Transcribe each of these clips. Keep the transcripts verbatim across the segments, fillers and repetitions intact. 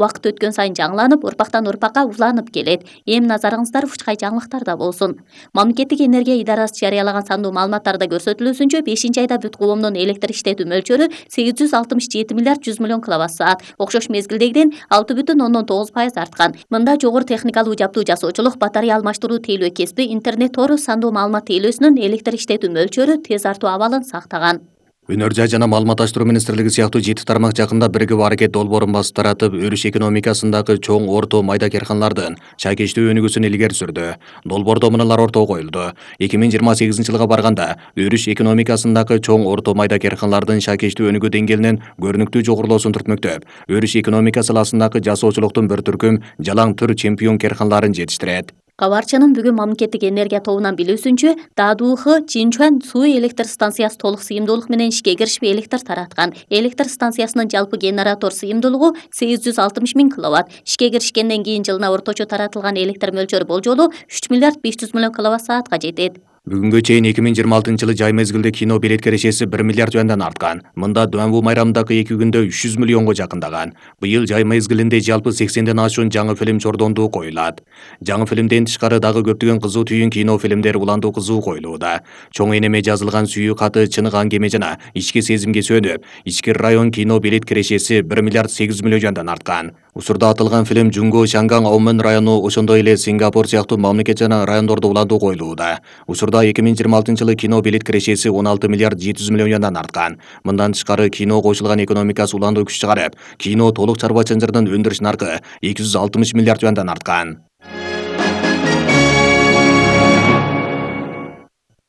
Убакыт өткөн сайын жаңыланып, урпактан урпакка уланып келет. Эми назарыңыздар ушкай жаңылыктарда болсун. Мамлекеттик энергия идарасы жарыялаган сандуу маалыматтарда көрсөтүлүүсүнчө, бешинчи айда бүт коомдун электр иштетүү мөлчөрү сегиз жүз алтымыш жети миллиард жүз миллион киловатт саат, окшош мезгилдегиден алты бүтүн ондон тогуз пайыз арткан. Мында жогору техникалуу жабдуу жасоочулук, батарея алмаштыруу тейлөө кесиби, интернет тору, сандуу маалымат тейлөөсүнүн электр иштетүү мөлчөрү тез артуу абалын сактаган. Өнөр жай жана маалыматташтыруу министрлиги сыяктуу жети тармак жакында биригип аракет долбоорун басып таратып, өрүш экономикасындагы чоң, орто, майда карханалардын чайкечтүү өнүгүүсүн илгери сүрдү. Долбоордо мыналар ортого коюлду. эки миң жыйырма сегизинчи жылга барганда өрүш экономикасындагы чоң, орто, майда карханалардын чайкечтүү өнүгүү деңгээлинин көрүнүктүү жогорулоосун түртмөктөп, өрүш экономика саласындагы жасоочулуктун бір түркүм жалаң түр чемпион карханаларын жетиштирет. Кабарчынын бүгүн мамлекеттик энергия тобунан билүүсүнчө, ДАДУХ Чинчуан суу электр станциясы толук сыйымдуулук менен ишке киришип электр тараткан. Электр станциясынын жалпы генератор сыйымдуулугу сегиз жүз алтымыш миң киловатт. Ишке киришкенден кийин жылына орточо таратылган электр мөлчөрү болжолу үч миллиард беш жүз миллион киловатт саатка жетет. Бүгүнгө чейин эки миң жыйырма алтынчы жылы жай мезгилде кино билет кирешеси бир миллиард юандан арткан. Мында Дуанву майрамындагы эки күндө үч жүз миллионго жакындаган. Быйыл жай мезгилинде жалпы сексенден ашуун жаңы фильм чордондуу коюлат. Жаңы фильмден тышкары дагы көптөгөн кызуу түйүн кино фильмдер уландуу кызуу коюлууда. Чоң энеме жазылган сүйүү каты, чыныгы аңгеме жана ички сезимге сөнүп, ички район кино билет кирешеси бир миллиард сегиз жүз миллион юандан арткан. Учурда атылган фильм Жунго, Шанган, Аомен району, ошондой эле Сингапур сыяктуу мамлекет жана райондордо уландуу коюлууда. Учурда эки миң жыйырма алтынчы жылы кино билет кирешеси он алты миллиард жети жүз миллион юандан арткан. Мындан тышкары кино кошулган экономикасы уландуу күч чыгарып, кино толук чарба чанжырдын өндүрүш наркы эки жүз алтымыш миллиард юандан арткан.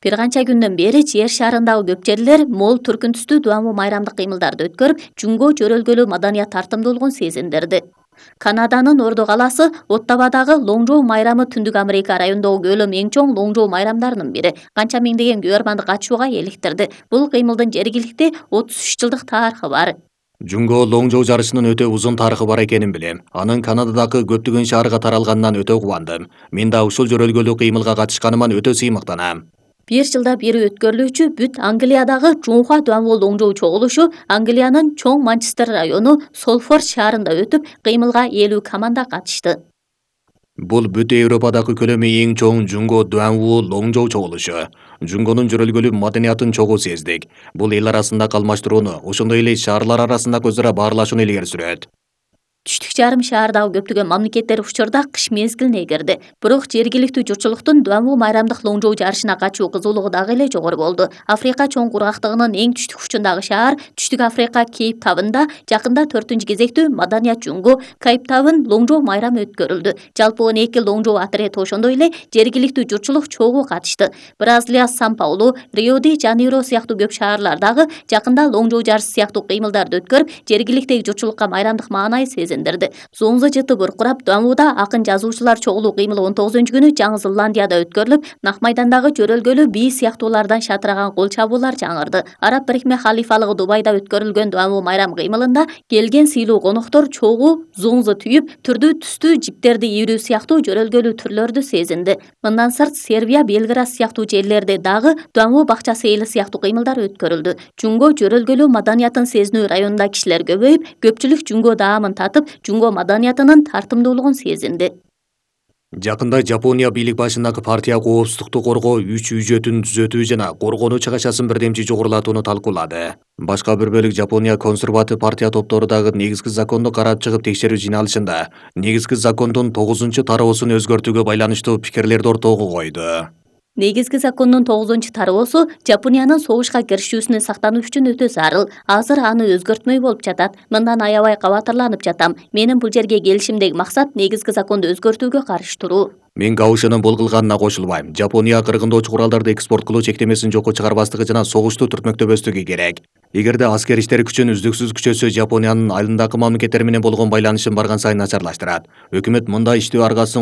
Бир канча күндөн бери жер шарындагы көп жерлер мол түркүн түстүү Дуанву майрамдык кыймылдарды өткөрүп, Жунго жөрөлгөлүү маданият тартымдуулугун сезиндирди. Канаданын Ордо калаасы Оттавадагы Лоңжоу майрамы Түндүк Америка районундагы көлөмү эң чоң Лоңжоу майрамдарынын бири. Канча миңдеген күйөрманды катышууга эликтирди. Бул кыймылдын жергиликти отуз үч жылдык тарыхы бар. Жунго Лоңжоу жарышынын өтө узун тарыхы бар экенин билем. Анын Канададагы көптөгөн шаарга таралганынан өтө кубандым. Мен да ушул жөрөлгөлүү кыймылга катышканыма өтө сыймыктанам. Бир жылда бири өткөрүлүүчү бүт Англиядагы Жунхуа Дуанву Лоңжоу чогулушу Англиянын чоң Манчестер району Солфорд шаарында өтүп, кыймылга элүү команда катышты. Бул бүт Европадагы көлөмү эң чоң Жунго Дуанву Лоңжоу чогулушу. Жунгонун жөрөлгөлүү маданиятын чогуу сездик. Бул эл арасындагы алмаштырууну, ошондой эле шаарлар арасындагы өзара баарлашууну илгери сүрөт. Түштүк жарым шаардагы көптөгөн мамлекеттер учурда кыш мезгилине кирди. Бирок жергиликтүү журтчулуктун Дуанву майрамдык Лоңжоу жарышына катышуу кызуулугу дагы эле жогору болду. Африка чоң кургактыгынын эң түштүк учундагы шаар Түштүк Африка Кейптаунда жакында төртүнчү кезектүү маданият Жунго Кейптаун Лоңжоу майрамы өткөрүлдү. Жалпы он эки Лоңжоу отрети, ошондой эле жергиликтүү журтчулук чогуу катышты. Бразилия, Сан-Паулу, Рио-де-Жанейро сыяктуу көп шаарлардагы жакында Лоңжоу жарышы сыяктуу кыймылдарды өткөрүп, жергиликтеги журтчулукка майрамдык маанайы сезиндирди. Зоңзо жыты буркурап, Дуанвуда акын жазуучулар чогулуу кыймылы он тогузунчу күнү Жаңы Зеландияда өткөрүлүп, Нак майдандагы жөрөлгөлүү бий сыяктуулардан шатыраган кол чабуулар жаңырды. Араб Бирикме халифалыгы Дубайда өткөрүлгөн Дуанву майрам кыймылында келген сыйлуу коноктор чогуу зоңзо түйүп, түрдүү түстүү жиптерди ийрүү сыяктуу жөрөлгөлүү түрлөрдү сезинди. Мындан сырт Сербия, Белград сыяктуу жерлерде дагы Дуанву бакча сейили сыяктуу кыймылдар өткөрүлдү. Жунго жөрөлгөлүү маданиятын сезинүү районунда кишилер көбөйүп, көпчүлүк Жунго даамын татып, Жунго маданиятынын тартымдуулугун сезинди. Жакында Жапония бийлик башындагы партия коопсуздукту коргоо үч үжөтүн түзөтүү жана коргонуу чыгашасын бирдемчи жогорулатууну талкуулады. Башка бир бөлүк Жапония консерватив партия топтору дагы негизги законду карап чыгып текшерүү жыйналышында негизги закондун тогузунчу тароосун өзгөртүүгө байланыштуу пикирлерди ортого койду. Негизги закондун тогузунчу тароосу Жапониянын согушка киришүүсүнөн сактануу үчүн өтө зарыл. Азыр аны өзгөртмөй болуп жатат. Мындан аябай кабатырланып жатам. Менин бул жерге келишимдеги максат негизги законду өзгөртүүгө каршы туруу. Мен Гаушинин бул кылганына кошулбайм. Жапония кыргындоочу куралдарды экспорт кылуу чектемесин жокко чыгарбастыгы жана согушту түртмөктөбөстүгү керек. Эгерде аскер иштер күчүн үздүксүз күчөсө, Жапониянын айылындагы мамлекеттер менен болгон байланышын барган сайын начарлаштырат. Өкмөт мындай иштөө аргасын